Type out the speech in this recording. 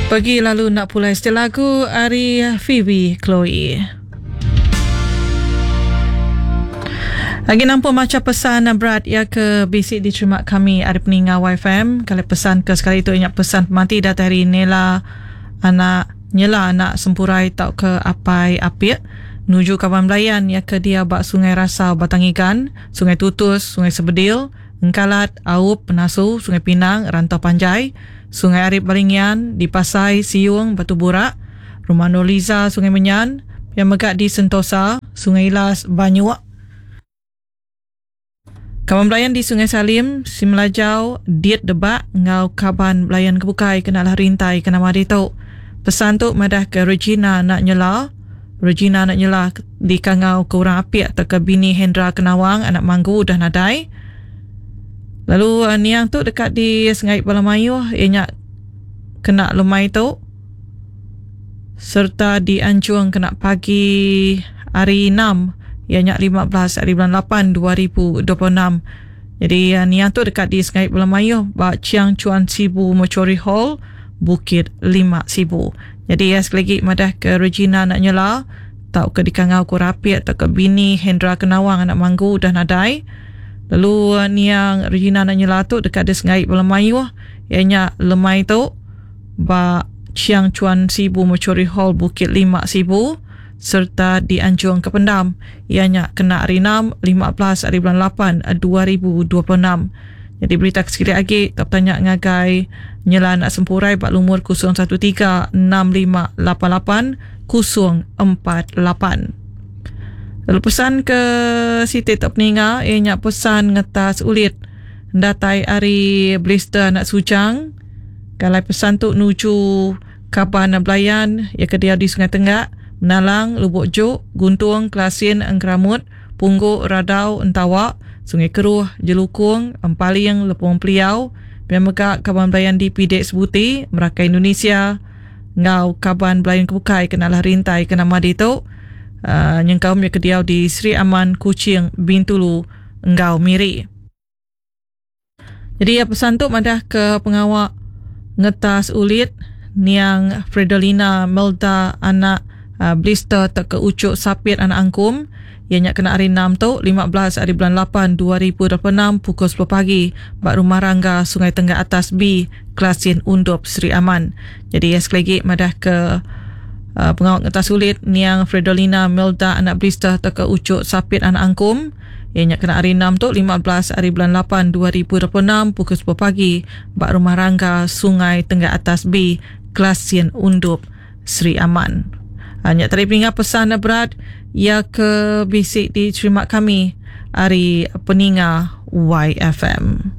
Pegi lalu enda pulai siti lagu ari Phoebe Chloe. Agi nampung macha pesan berat iya ke bisi diterima kami ari peninga YFM. Kali pesan ke sekali tu inya pesan pemati datai ari Nela anak Nyela anak Sempurai tauka Apai Apik nuju kaban belayan iya ke diau ba Sungai Rasau Batang Igan, Sungai Tutus, Sungai Sebedil, Engkalat, Aup, Penasu, Sungai Pinang, Rantau Panjai, Sungai Arip Balingian, di Pasai, Siung, Batu Burak, Rumah Nurliza, Sungai Menyan, pia mega di Sentosa, Sungai Ilas, Banyuk. Kaban belayan di Sungai Salim, Simelajau, Dit Debak enggau kaban belayan ke bukai kena lah rintai ke nama ditu. Pesan tu madahka Regina anak Nyela, Regina anak Nyela dikangau ke orang apik tauka bini Hendra Kenawang anak Manggu udah nadai. Lalu niang tu deka disengai bala mayuh iya nya kena lemai tu sereta dianjung kena pagi hari enam iya nya 15 hari bulan 8 2026. Jadi niang tu deka disengai bala mayuh ba Chiang Chuan Sibu Mortuary Hall Bukit Lima Sibu. Jadi iya sekali agi madah ke Regina anak Nyela tauka dikangau ku Rapik tauka bini Hendra Kenawang anak Manggu udah nadai. Lalu niang Regina anak Nyela tu deka disengai bala mayuh iya nya lemai tu ba Chiang Chuan Sibu Mortuary Hall Bukit Lima Sibu sereta dianjung ke pendam iya nya kena hari enam 15 hari bulan 8 2026. Nyadi berita ke sekali agi tau betanya ngagai Nyela anak Sempurai ba lumur 013 6588 048. Lalu pesan ke siti tu peninga iya nya pesan ngetas ulit datai ari Blister anak Sujang. Kalai pesan tu nuju kaban belayan iya ke diau di Sungai Tenggak, Menalang, Lubok Jok, Guntung, Kelasin, Engkeramut, Punggu, Radau, Entawa, Sungai Keruh, Jelukung, Empaling, Lepung Peliau, pia mega kaban belayan di Pidek Sebuti, Merakai Indonesia enggau kaban belayan ke bukai ke nalah rintai ke nama ditu nyengkaum iya ke diau di Sri Aman, Kuching, Bintulu enggau Miri. Jadi iya pesan tu madah ke pengawa ngetas ulit niang Fredelina Melda anak Blister tauka Uchuk Sapit anak Angkum iya nya kena hari enam tu 15 ari bulan 8 2026 pukul 10 pagi ba Rumah Rangga Sungai Tenggak Atas B Kelasin Undop Sri Aman. Jadi iya sekali agi madah ke pengawa ngetas ulit niang Fredelina Melda anak Blister tauka Uchuk Sapit anak Angkum Iya nya kena hari enam tu 15 ari bulan 8 2026 pukul 10 pagi ba Rumah Rangga Sungai Tenggak Atas B, Kelasin Undup, Sri Aman. Ha, nya tadi peninga pesan berat iya ke bisi diterima kami ari peninga YFM.